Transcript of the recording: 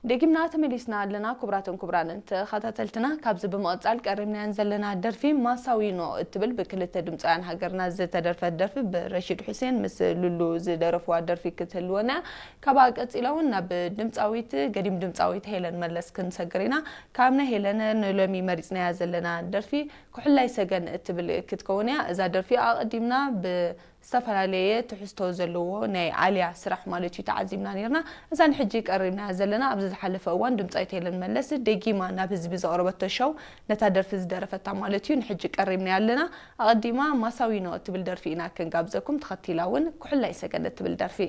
ደጊምና ተመሊስና ኣለና። ክቡራትን ክቡራንን ተኸታተልትና፣ ካብዚ ብምቕጻል ቀሪብናየን ዘለና ደርፊ ማሳዊኖ እትብል ብክልተ ድምጻውያን ሃገርና ዝተደርፈት ደርፊ ብረሺድ ሑሴን ምስ ሉሉ ዝደረፍዋ ደርፊ ክትህልወና። ካብኣ ቀጺላ እውን ናብ ድምጻዊት፣ ገዲም ድምጻዊት ሄለን መለስ ክንሰግር ኢና። ካብ ናይ ሄለን ንሎሚ መሪጽናያ ዘለና ደርፊ ኩሕላይ ሰገን እትብል ክትከውን እያ። እዛ ደርፊ ኣቐዲምና ብ ዝተፈላለየ ትሕዝቶ ዘለዎ ናይ ኣልያ ስራሕ ማለት እዩ ተዓዚብና ነርና። እዛ ንሕጂ ቀሪብና ዘለና ኣብዚ ዝሓለፈ እዋን ድምጻዊት ሄለን መለስ ደጊማ ናብ ህዝቢ ዘቕረበቶ ሸው ነታ ደርፊ ዝደረፈታ ማለት እዩ ንሕጂ ቀሪብና ኣለና። ኣቐዲማ ማሳዊኖ እትብል ደርፊ ኢና ክንጋብዘኩም፣ ተኸቲላ እውን ኩሕላይ ሰገን እትብል ደርፊ።